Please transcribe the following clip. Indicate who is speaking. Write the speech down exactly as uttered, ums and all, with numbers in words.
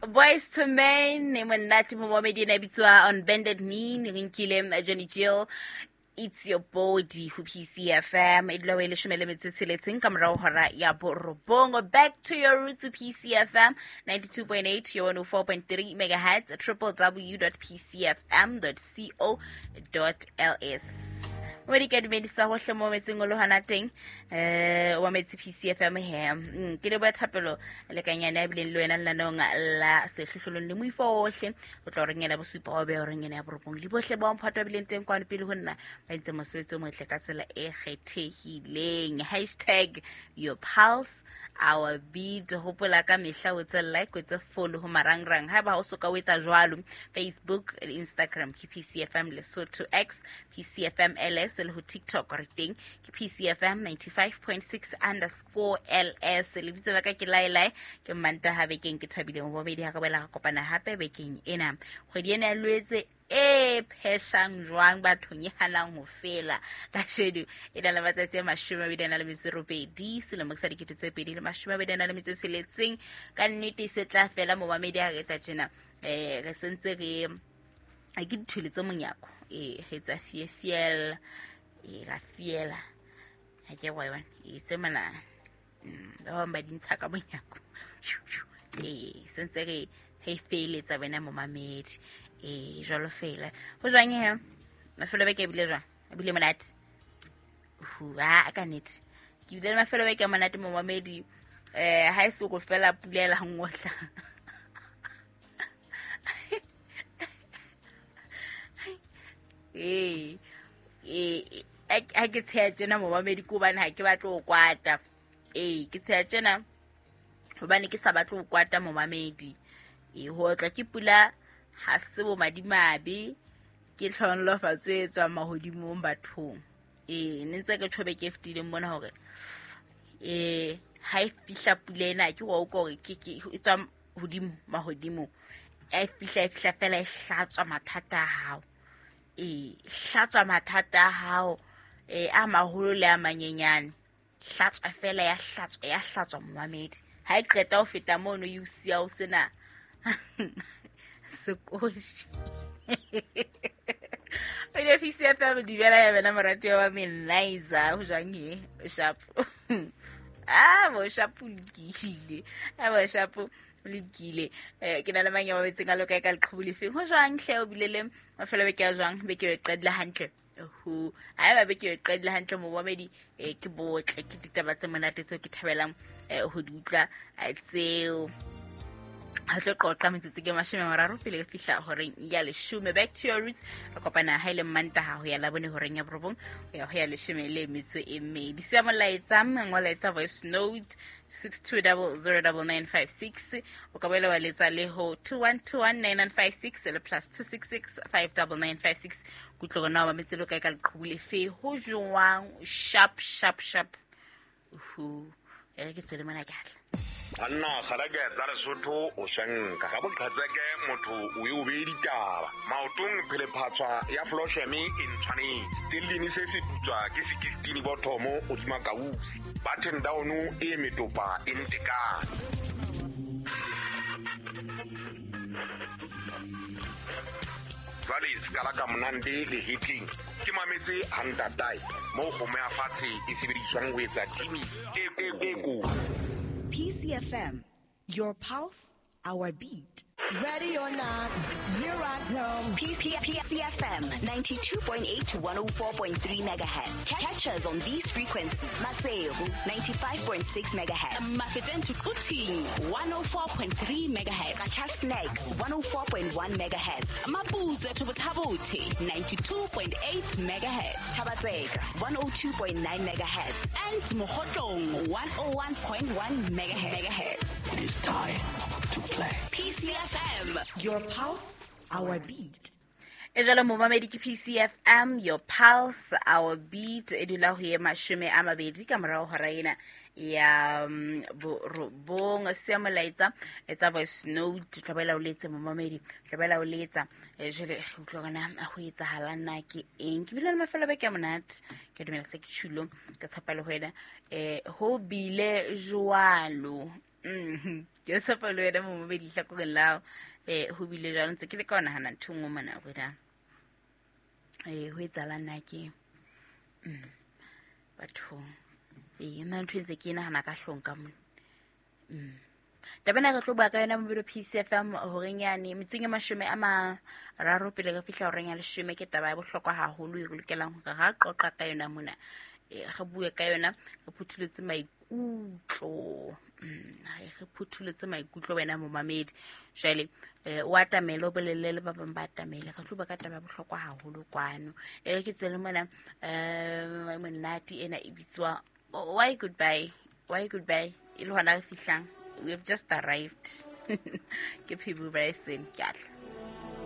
Speaker 1: Boys to Men e monate momamedi ena e bitswa On Bended Knee re nkile Johnny Jill It's Your Body ho P C F M e dula e leshome le metso e tsheletseng ka morao hora ya borobong. Back to your roots to P C F M ninety-two point eight your one oh four point three megahertz w w w dot p c f m dot co dot l s. Momedi ke dumedisa hohle mo metseng o le hona teng eh wa metsi P C F M he ke le ba thapelo le kanyane ya bileng le wena lenaneong la sehlohlolong le moifo ohle o tla reng ena bosupa o be o reng ena ya borobong le bohle ba mphato bileng teng kwano pele ho nna ba entse mosebetsi o motle ka tsela e kgethehileng. Hashtag your pulse our beat. Hopola ka mehla o tse like o tse follow ho marangrang haeba o soka o etsa jwalo Facebook le Instagram ke P C F M Lesotho X P C F M L S le ho TikTok re teng ke P C F M ninety-five point six underscore L S. Lebitso la ka ke Lailai ke Mantaha bekeng ke thabile mo bobedi ha re boela re kopana hape bekeng ena. Kgwedi ena ya Loetse e pheshang jwang bathong e hanang ho fela kasheno e na le matsatsi a mashome a mabedi a na le metso e robedi selemo sa dikete tse pedi le mashome a mabedi a na le metso e tsheletseng. Ka nnete e se tla fela momamedi ha re etsa tjena eh re sentse re a ke dithwele tse monyako e re etsa fiefiela e ra fiela ha ke wa yona e tse mana ba bang ba di ntsha ka monyako e sentse re he feletsa wena momamedi e jwalo fela ho jwang he mafelo beke bile jwang a bile monate hua ka nnete ke bile mafelo beke a monate momamedi eh ha e se go fela pula la ngotla eh eh ha ke tsheya tjena momamedi ko hobane ha ke batle ho kwata eh ke tsheya tjena hobane ke sa batle ho kwata momamedi e ho tla ke pula ha se bo madimabe ke tlhonolofatso e tswang mahodimong bathong e ne ntse ke tjhobe ke fetileng mona hore eh ha e fihla pula ena ke wa utlwa hore ke ke e tswa hodimo mahodimong e fihla e fihla fela e hlatswa mathata a hao e hlatswa mathata a hao e a maholo le a manyenyane hlatswa fela ya hlatswa ya hlatswa momamedi ha e qeta ho feta mono e o siya o sena sekoshi o ne P C F M dibela ya bana morati wa Meliza ho jwang he sharp ah bo sharp lokile ah bo sharp lokile eh ke na le mang ya mabetseng a loka ka leqhubu lefeng ho jwang hle o bile le mafelo beke ya jwang beke e qedile hantle ho haeba beke e qedile hantle momamedi eh ke botle ke ditaba tse monate tseo ke thabelang ho di utlwa tseo ha tlo qoqa metsotso ke mashome a mararo pele re fihla horeng ya leshome. Back to your roots re kopana ha ile Mantaha ho ya labone horeng ya borobong ho ya ho ya leshome le metso e mmedi. Siya molaetsa molaetsa voice note six two zero zero nine nine five six o ka boela wa letsa le ho two one two one nine nine five six le plus two six six five nine nine five six. Kutlwa gona wa metse lo kae ka leqhubu lefe ho jwang sharp sharp sharp hu e ke tswele mona ke hatla
Speaker 2: Anna kgarake tsa Lesotho o shanka ga boqhatseke motho o e o be ditaba maotong phelephatswa ya flosheme e ntshwanetse stellini se se putswa ke sixteen bothomo o tsuma kausi button down e metopa e ntekane jwale skala ka monande le hitling ke mametse hantatai mo kgomo ya fatshe e sebediswang ho etsa timi e e ko
Speaker 3: P C F M, your pulse, our beat.
Speaker 4: Ready or not, here I come.
Speaker 3: P C F M ninety-two point eight to one oh four point three megahertz. Catch us on these frequencies. Maseru ninety-five point six megahertz.
Speaker 5: Mafeteng to Quthing one oh four point three megahertz.
Speaker 3: Qacha's Nek one oh four point one megahertz.
Speaker 5: Maputsoe to Botha-Bothe ninety-two point eight megahertz.
Speaker 3: Thaba-Tseka one oh two point nine megahertz.
Speaker 5: And Mokhotlong one oh one point one megahertz.
Speaker 6: It is time to play.
Speaker 5: P C F M,
Speaker 3: your pulse, our beat.
Speaker 1: E jalo momamedi ke P C F M, your pulse, our beat. E dula ho ye mashome a mabedi ka morao hora ena ya borobong. Siya molaetsa etsa voice note tlabela o letse momamedi tlabela o letsa jele utlwa gona ho etsahala na ke eng ke bile le mafelo beke a monate ke dumela se ke tshilo ka tshepa le ho wena eh ho bile jwalo. Mm ke tshepa le wena momamedi hlakoreng la eh ho bile jwalo ntse ke le ka o nahana ntho e nngwe mona hore eh ho etsahalang na ke mm bathong eh nna ntho e ntse ke e nahana ka hlong ka mona. Mm taba ena re tlo bua ka yona mobilo P C F M horeng yane metsong e mashome a mararo pele re fihla horeng ya leshome. Ke taba ya bohlokwa haholo e re lokelang hore ra qoqa ka yona mona, eh re bue ka yona, re phuthuletse maikutlo. Mm re phuthuletse maikutlo wena momamedi. Jwale eh o atamele o bolelle le ba bang ba atamele, re tlo bua ka taba ya bohlokwa haholo kwano. E re ke tswele mona eh monate ena e bitswa Why Goodbye, Why Goodbye e le hona re fihlang. We have just arrived. Ke Phibu Bryson, ke a tla.